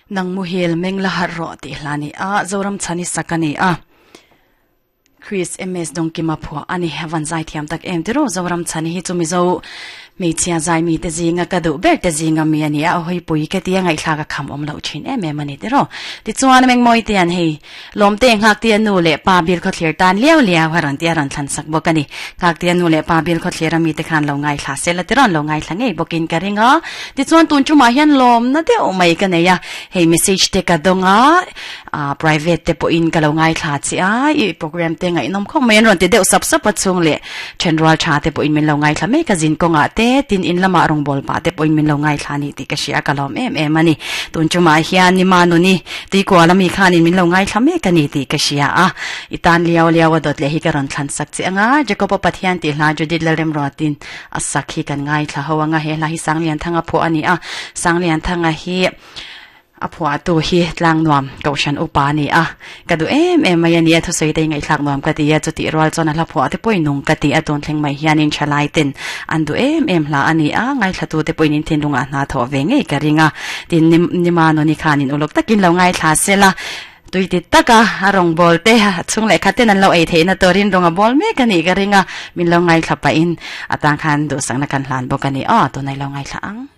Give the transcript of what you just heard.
Nang muhil meng la harh rawh tih hla a ni a, Zoram chhan i sak a ni a. Chris MS Dawngkima phuah a ni. Van zai thiam tak em tiraw Zoram chhan hi chu Mizo hmeichhia zai mi te zinga ka duh ber te zinga mi a ni a, hawi pui ka tia ngaihthlak a kham awm loh thin em em a ni tiraw. Tichuan Mengmawi te an hei Lawmte Nghaktia nu leh pa bil khawthlir tan liau liau a rawn ti a rawn thlan sak bawk a ni. Nghaktia nu leh pa bil khawthlir a mite khan lo ngaithla sel a tirawn lo ngaithla ngei bawkin ka ring a. Tichuan tun tumah hian lawmna deuh mai ka nei a, hei message te ka dawng a, ah private te pawhin ka lo ngaithla che a, i program te ngaihnawm khawp mai an rawn ti deuh sap sap a chhung leh thenrual tha te pawhin min lo ngaithla mek a zin kawngah te tin in lamah rawngbâwl pah te pawhin min lo ngaithla a ni tih ka hria ka lawm em em a ni. Tun tumah hian ni Manuni Tuikual ami khanin min lo ngaithla mek a ni tih ka hria a, i tan liau liau a dawt leh hi ka rawn thlan sak che ang a, Jacob-a Pathian tih hla Judith Lalremruatin a sak hi kan ngaithla ho ang a, he hla hi Sanglianthanga phuah a ni a, Sanglianthanga hi a phuahtu hi Tlangnuam Kohhran upa a ni a, ka duh em em mai a ni a, thusawi te hi ngaihthlak nuam ka ti a, chutih rual chuan a hla phuah te pawhin nung ka ti a, tun thleng mai hianin thalai ten an duh em em hla a ni a, ngaithlatu te pawhin in thinlungah hna thawh ve ngei ka ring a, tin Nima Nuni khanin uluk takin lo ngaithla sela, tui ti taka a rawngbâwl te a chhung leh khat ten an lo ei theihna turin rawng a bâwl mek a nih ka ring a, min lo ngaithla pahin atang khan duhsakna kan hlan bawk a ni aw, tunah i lo ngaithla ang.